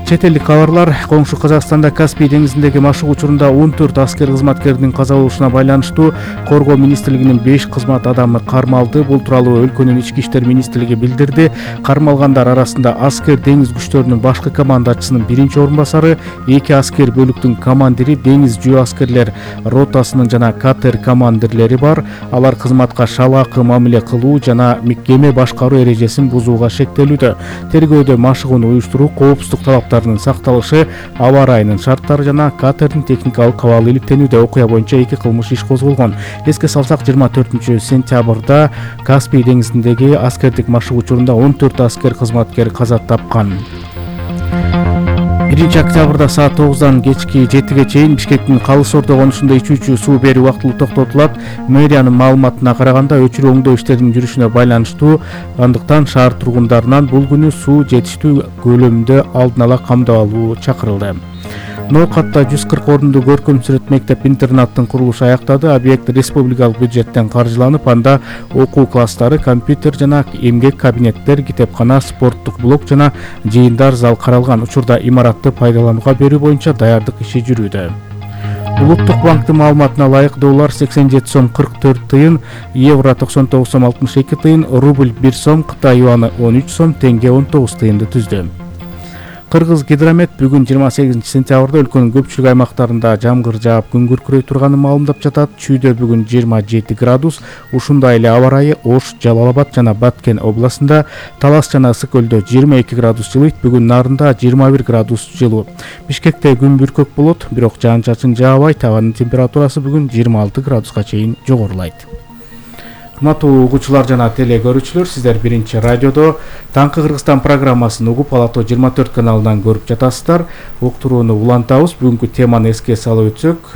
Чет элдик кабарлар. Коңшу Казакстанда Каспий деңизиндеги машык учурунда 14 аскер кызматкердин каза болушуна байланыштуу Коргоо министрлигинин 5 кызмат адамы кармалды. Бул тууралуу өлкөнүн ички иштер министрлиги билдирди. Кармалгандар арасында аскер деңиз күчтөрүнүн башкы командачысынын 1-орун басары, 2 аскер бөлүктүн командири, деңиз жөө аскерлер ротасынын жана катер командирлери бар. Алар кызматка шалаакы мамиле кылуу жана кеме башкаруу эрежесин бузууга шектелүүдө. Тергөөдө машыгууну уюштуруу, коопсуздук талаптарынын сакталышы, аба ырайынын шарттары жана катердин техникалык абалы иликтенүүдө. Окуя боюнча 2 кылмыш иш козголгон. Эске салсак, 24 сентябрда Каспий деңизиндеги аскердик машык учурунда 14 аскер кызматкер каза тапкан. 1 октябрда саат 9-дан кечки 7-ге чейин Бишкектин Калыс Ордо конушунда ичүүчү суу берүү убактылуу токтотулат. Мэриянын маалыматына караганда, өчүрүү оңдоо иштеринин жүрүшүнө байланыштуу, андыктан шаар тургундарынан бул күнү суу жетиштүү көлөмдө алдын ала камдап алуу чакырылды. Ноокатта 140 орунду көркөм сүрөт мектеп-интернаттын курулушу аяктады. Объект республикалык бюджеттен каржыланып, анда окуу класстары, компьютер жана эмгек кабинеттер, китепкана, спорттук блок жана жыйындар зал каралган. Учурда имаратты пайдаланууга берүү боюнча даярдык иши жүрүүдө. Улуттук банктын маалыматына ылайык, доллар 87 сом 44 тыйын, евро 99 сом 62 тыйын, рубль 1 сом, Кытай юаны 13 сом, теңге 19 тыйынды түздү. Кыргыз гидромет бүгүн 28 сентябрда өлкөнүн көпчүлүк аймактарында жамгыр жаап, күн күркүрөй турганын маалымдап жатат. Чүйдө бүгүн 27 градус, ушундай эле аба ырайы Ош, Жалал-Абад жана Баткен областында, Талас жана Ысык көлдө 22 градус жылыйт, бүгүн Нарында 21 градус жылуу. Бишкекте күн бүркөк болот, бирок жаан-чачын жаабайт, абанын температурасы бүгүн 26 градуска чейин жогорулайт. Урматтуу угуучулар жана теле көрүүчүлөр, сиздер биринчи радиодо Таңкы Кыргызстан программасын угуп Ала-Тоо 24 каналынан көрүп жатасыздар. Уктурууну улантабыз. Бүгүнкү теманы эске салып өтсөк,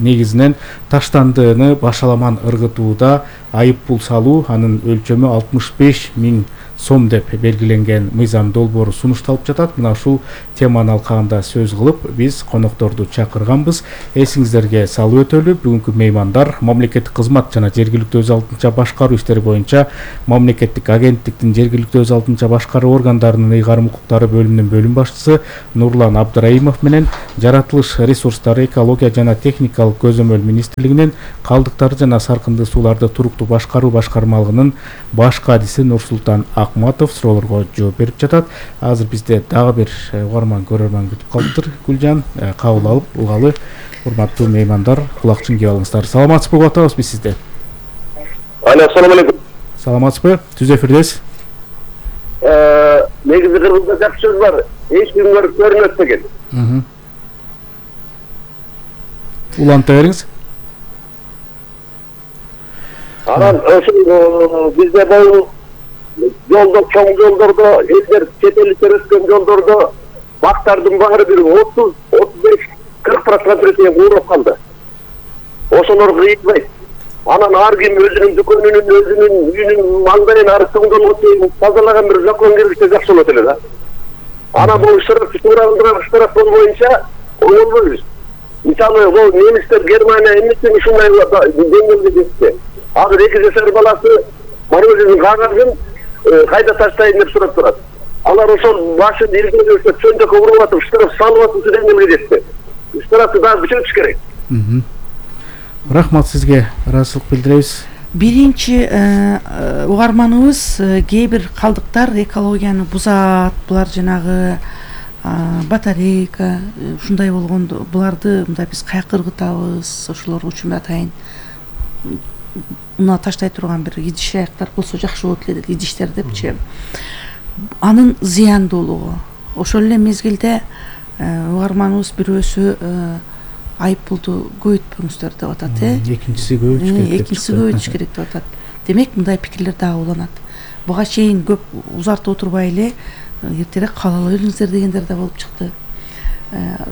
негизинен таштандыны башаламан ыргытууда айып пул салуу, анын өлчөмү 65 000 сом деп белгиленген мыйзам долбоору сунушталып жатат. Мына ушул теманын алкагында сөз кылып, биз конокторду чакырганбыз. Эсиңиздерге салып өтөлү, бүгүнкү меймандар мамлекеттик кызмат жана жергиликтүү өз алдынча башкаруу иштери боюнча мамлекеттик агенттиктин жергиликтүү өз алдынча башкаруу органдарынын ыйгарым укуктары бөлүмүнүн бөлүм башчысы Нурлан Абдыраимов менен жаратылыш ресурстары, экология жана техникалык көзөмөл министрлигинин калдыктар жана саркынды сууларды туруктуу башкаруу башкармалыгынын баш кадиси Нурсултан Акматов суроолорго жооп берип жатат. Азыр бизде дагы бир угарман көрөрман күтүп калыптыр. Гүлжан, кабыл алып угалы. Урматтуу меймандар, кулакчын кийип алыңыздар. Саламатсызбы, угуп атабыз биз сизди. Ассаламу алейкум. Саламатсызбы? Түз эфирдесиз. Негизи Кыргызда жакшы сөз бар. Эч ким көрүнөт деген. Уланта бериңиз. Анан ошол бизде бул жолдо, чоң жолдордо, элдер чет элдер өткөн жолдордо бактардын баары бир 30-35-40% куурап калды. Ошолор кыйылбайт. Анан ар ким өзүнүн дүкөнүнүн, өзүнүн үйүнүн маңдайын ары соңдолго чейин тазалаган бир закон киргизсе жакшы болот эле да. Анан бул штраф боюнча оңолбойбуз. Мисалы, бул немистер Германия эмнесин ушундай деңгээлде жетти. Азыр 2 жашар баласы мороженый кагазын кайда таштайын деп сурап турат. Алар ошол башын илгерүүсө чөндөккө уруп атып, штраф салып атып деңгээлге жетти. Штрафты дагы күчөтүш керек. Рахмат сизге, ыраазычылык билдиребиз. Биринчи угарманыбыз кээ бир калдыктар экологияны бузат, булар жанагы батарейка ушундай болгондо буларды мындай биз каяка ыргытабыз, ошолор үчүн атайын мына таштай турган бир идиш аяктар болсо жакшы болот эле, идиштер депчи. Анын зыяндуулугу. Ошол эле мезгилде угарманыбыз бирөөсү айып пулду көбөйтпөңүздөр деп атат, Экинчиси көбөйтүш керек деп атат. Демек, мындай пикирлер дагы уланат. Буга чейин көп узартып отурбай эле эртерээк кабыл ала бериңиздер дегендер да болуп чыкты.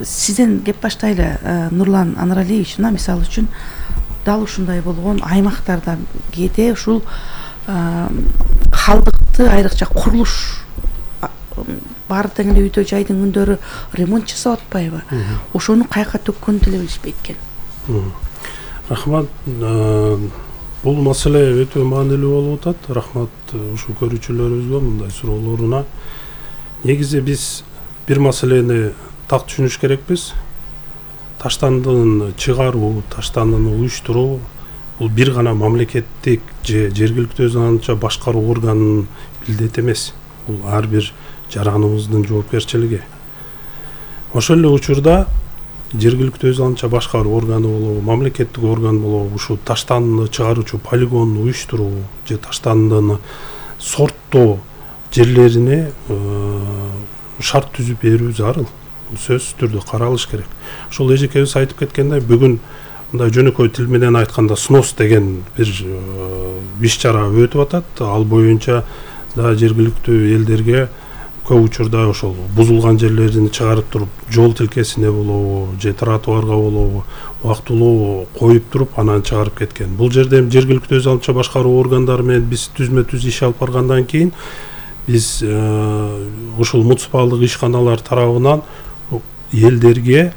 Сизден кеп баштайлы, Нурлан Анаралиевич. Мисалы үчүн дал ушундай болгон аймактарда кээде ушул калдыкты, айрыкча курулуш баары тең эле үйдө жайдын күндөрү ремонт жасап атпайбы? Ошону каяка төккөндү деле билишпейт экен. Рахмат. Бул маселе өтө маанилүү болуп атат. Рахмат ушул көрүүчүлөрүбүзгө мындай суроолоруна. Негизи биз бир маселени так түшүнүш керекпиз. Таштандыны чыгаруу, таштандыны уюштуруу бул бир гана мамлекеттик же жергиликтүү өз алдынча башкаруу органынын милдети эмес. Бул ар бир жараныбыздын жоопкерчилиги. Ошол эле учурда жергиликтүү өз алдынча башкаруу органы болобу, мамлекеттик орган болобу, ушул таштандыны чыгаруучу полигонду уюштуруу же таштандыны сорттоо жерлерине шарт түзүп берүү зарыл. Сөзсүз түрдө каралыш керек. Ошол эжекебиз айтып кеткендей, бүгүн мындай жөнөкөй тил менен айтканда снос деген бир иш чара өтүп атат. Ал боюнча да жергиликтүү элдерге көп учурда ошол бузулган жерлерин чыгарып туруп, жол тилкесине болобу, же тротуарга болобу, убактылуу коюп туруп, анан чыгарып кеткен. Бул жерде жергиликтүү өз алдынча башкаруу органдары менен биз түзмө-түз иш алып баргандан кийин биз ушул муниципалдык ишканалар тарабынан элдерге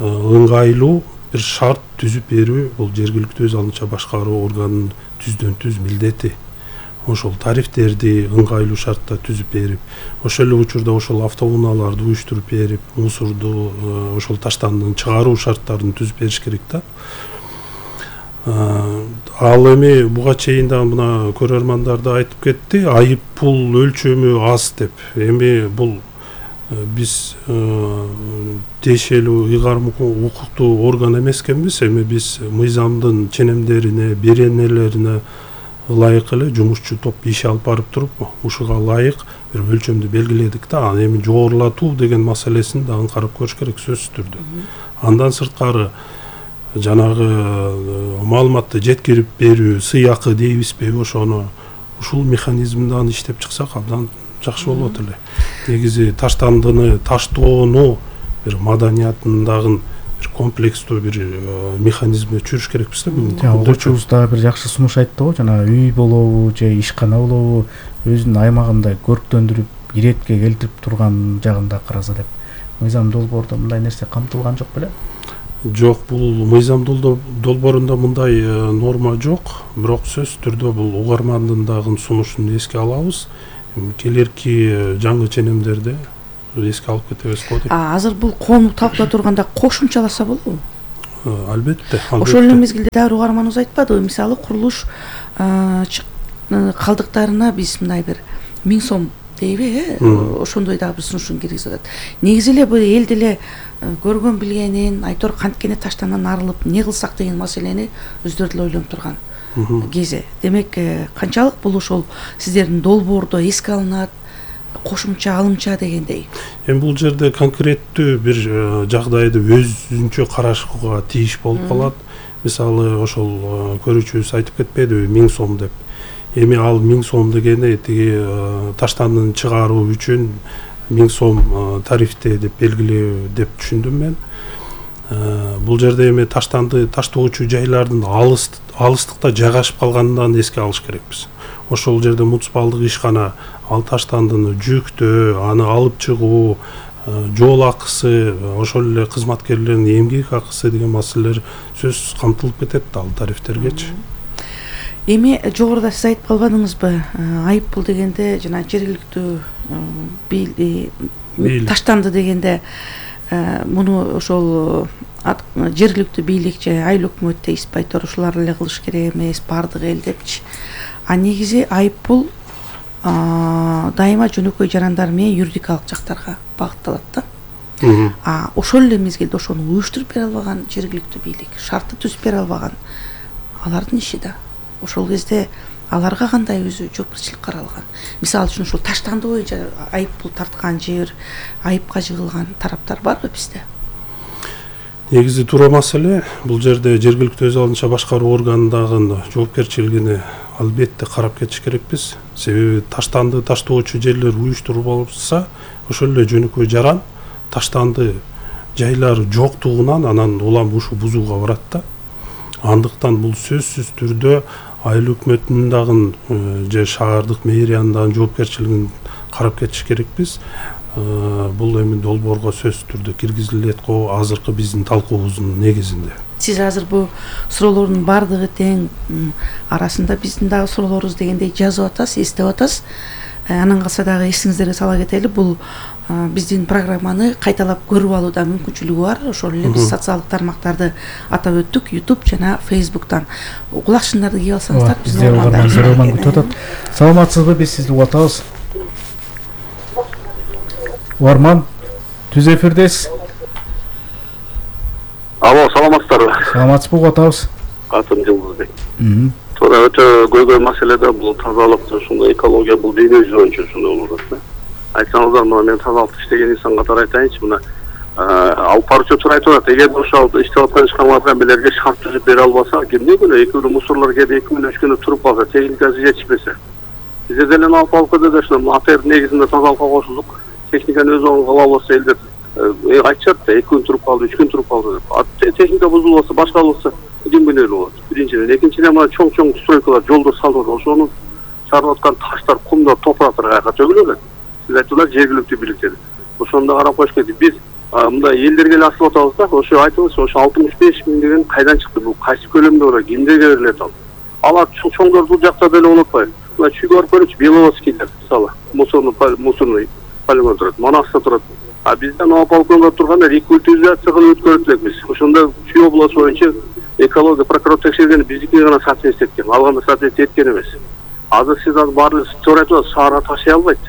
ыңгайлуу бир шарт түзүп берүү бул жергиликтүү өз алдынча башкаруу органынын түздөн-түз милдети. Ошол тарифтерди ыңгайлуу шартта түзүп берип, ошол эле учурда ошол автоунааларды уюштуруп берип, мусорду ошол таштандыны чыгаруу шарттарын түзүп бериш керек да. Ал эми буга чейин да мына көрөрмандар да айтып кетти, айып пул өлчөмү аз деп. Эми бул биз тиешелүү ыйгарым укуктуу орган эмес экенбиз. Эми биз мыйзамдын ченемдерине, беренелерине ылайык эле жумушчу топ иш алып барып туруп, ушуга ылайык бир өлчөмдү белгиледик да. Аны эми жогорулатуу деген маселесин да аңкарып көрүш керек сөзсүз түрдө. Андан сырткары жанагы маалыматты жеткирип берүү, сыйакы дейбизби, ошону ушул механизмден иштеп чыксак абдан жакшы болот эле. Негизи таштандыны таштоону бир маданиятындагы бир комплекстүү бир механизмге түшүрүш керекпиз да бүгүнкү күндө. Окуучубуз да бир жакшы сунуш айтты го, жана үй болобу же ишкана болобу өзүнүн аймагында көрктөндүрүп, иретке келтирип турган жагында караса деп. Мыйзам долбоордо мындай нерсе камтылган жок беле? Жок, бул мыйзам долбоорунда мындай норма жок, бирок сөзсүз түрдө бул угармандын дагы сунушун эске алабыз. Келерки жаңы ченемдерде эске алып кетебиз го деп. Азыр бул коону талкуулай турганда кошумчаласа болобу? Албетте. Ошол эле мезгилде дагы угарманыбыз айтпадыбы, мисалы курулуш калдыктарына биз мындай бир 1000 сом дейби, ошондой дагы бир сунушун киргизип атат. Негизи эле бул эл деле көргөн билгенин, айтор канткене таштандан арылып не кылсак деген маселени өздөрү деле ойлонуп турган кези. Демек, канчалык бул ошол сиздердин долбоордо эске алынат, кошумча алымча дегендей. Эми бул жерде конкреттүү бир жагдайды өзүнчө карашууга тийиш болуп калат. Мисалы, ошол көрүүчүбүз айтып кетпедиби 1000 сом деп. Эми ал 1000 сом дегени тиги таштандын чыгаруу үчүн 1000 сом тарифте деп белгилөө деп түшүндүм мен. Бул жерде эми таштанды таштоочу жайлардын алыстыкта жайгашып калганынан эске алыш керекпиз. Ошол жерде муниципалдык ишкана ал таштандыны жүктөө, аны алып чыгуу, жол акысы, ошол эле кызматкерлердин эмгек акысы деген маселелер сөзсүз камтылып кетет ал тарифтергечи. Эми жогоруда сиз айтып калбадыңызбы, айып бул дегенде жана жергиликтүү таштанды дегенде муну ошол жергиликтүү бийлик же айыл өкмөт дейсизби, айтор ушулар эле кылыш керек эмес, баардык эл депчи. Негизи айып бул дайыма жөнөкөй жарандар менен юридикалык жактарга багытталат да. Ошол эле мезгилде ошону уюштуруп бере албаган жергиликтүү бийлик, шартты түзүп бере албаган алардын иши да. Ошол кезде аларга кандай өзү жоопкерчилик каралган? Мисалы үчүн ушул таштанды боюнча айып бул тарткан жер, айыпка жыгылган тараптар барбы бизде? Негизи туура маселе, бул жерде жергиликтүү өз алдынча башкаруу органындагы жоопкерчилигине албетте карап кетиш керекпиз. Себеби таштанды таштоочу жерлер уюштурулса, ошол эле жөнөкөй жаран таштанды жайлары жоктугунан анан улам ушу бузууга барат да. Андыктан бул сөзсүз түрдө айыл өкмөтүнүн дагы же шаардык мэриянын дагы жоопкерчилигин карап кетиш керекпиз. Бул эми долбоорго сөзсүз түрдө киргизилет го азыркы биздин талкуубуздун негизинде. Сиз азыр бул суроолордун баардыгы тең арасында биздин дагы суроолорубуз дегендей жазып атасыз, эстеп атасыз. Анан калса дагы эсиңиздерге сала кетели, бул биздин программаны кайталап көрүп алууда мүмкүнчүлүгү бар. Ошол эле биз социалдык тармактарды атап өттүк, YouTube жана Facebook'тан. Кулакчындарды кийип алсаңыздар, бизде угарман күтүп атат. Саламатсызбы, биз сизди угуп атабыз. Угарман, түз эфирдесиз. Алло, саламатсыздарбы? Саламатсызбы, угуп атабыз. Атым Жылдызбек. Туура өтө көйгөй маселе да, бул тазалык, ушундай экология, бул дүйнө жүзү боюнча ушундай болуп атат да. Айтсаңыздар, мына мен тазалыкты иштеген инсан катары айтайынчы, мына алып баруучулар айтып атат, эгер ошол иштеп аткан ишканаларга мелерге шарт түзүп бере албаса, эмне күнөө экөө мусорлор келип 2 күн 3 күн туруп калса, техникасы жетишпесе. Бизде деле алып кетет ушуну АТР негизинде тазалыкка кошулдук. Техниканы өз оңун кыла албаса элдер айтышат да, 2 күн туруп калды, 3 күн туруп калды деп. Техника бузулса, башка болсо күнбүнөлүү болот. Биринчиден, экинчиден мына чоң стройкалар жолдор салып атат. Ошонун чарып аткан таштар, кумдар, топурактар каяка төгүлөт. Сиз айтылар жергиликтүү бийликтер. Ошондо карап коюш керек. Биз мындай элдерге эле асылып атабыз да. Ошо айтыңыз, ошо 65 миң деген кайдан чыкты? Бул кайсы көлөмдө бар? Кимдерге берилет ал? Алар чоңдор бул жакта деле унутпайбы. Мына чүйгө барып көрүңүзчү, Беловодскийдер, мисалы, мусорный полигон турат, Манаста турат. Бизден полигонго турганда рекультивизация кылып өткөрүп элекпиз. Ошондо Чүй областы боюнча экология прокурор текшергени биздики гана соответствие эткен, алганда соответствие эткен эмес. Азыр сиз баары туура айтып атасыз, шаарга ташый албайт.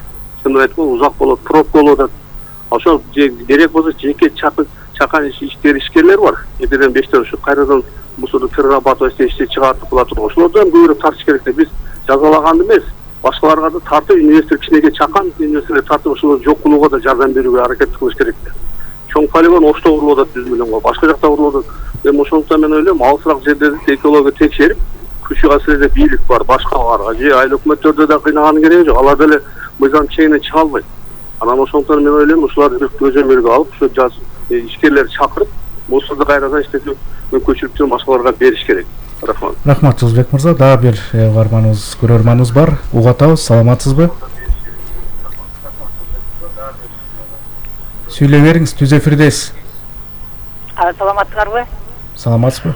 Чын айтып, узак болот, пробка болот. Ошол керек болсо жеке чакан ишкерлер бар. 2-ден 5 ушу кайрадан мусорду перерабатывать ишти чыгартып кыла турган. Ошолордон көбүрөөк тартыш керек деп биз жазалаганды эмес. Башкаларга да тартып, инвестор кичинекей чакан инвесторлор тартып ошолорду жок кылууга да жардам берүүгө аракет кылыш керек. Чоң полигон Ошто курулуп атат 100 миллионго, башка жакта курулуп атат. Эми ошондуктан мен ойлойм, алысыраак жерлерди экология текшерип, күчү асырда бийлик бар, башкаларга же айыл өкмөттөрдө да кыйнаганын кереги жок. Алар деле мыйзам чегине чыга албайт. Анан ошондуктан мен ойлойм, ушуларды бир көзөмөлгө алып, ушу жаз ишкерлерди чакырып, мусорду кайрадан иштетүү мүмкүнчүлүктүн башкаларга бериш керек. Рахмат. Рахмат Жылбек мырза. Дагы бир угарманыбыз, көрөрманыбыз бар. Угатабыз, саламатсызбы? Сүйлөй бериңиз, түз эфирдесиз. Саламатсыздарбы? Саламатсызбы?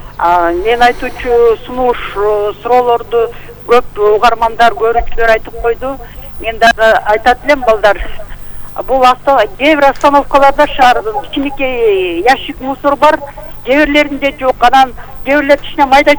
Мен айтуучу сунуш суроолорду көп угармандар, көрүүчүлөр айтып койду. Мен дагы айтат элем балдар. Бул кээ бир остановкаларда шаардын кичинекей ящик мусор бар, кээ бирлеринде жок. Анан кээ бирлер кичине майда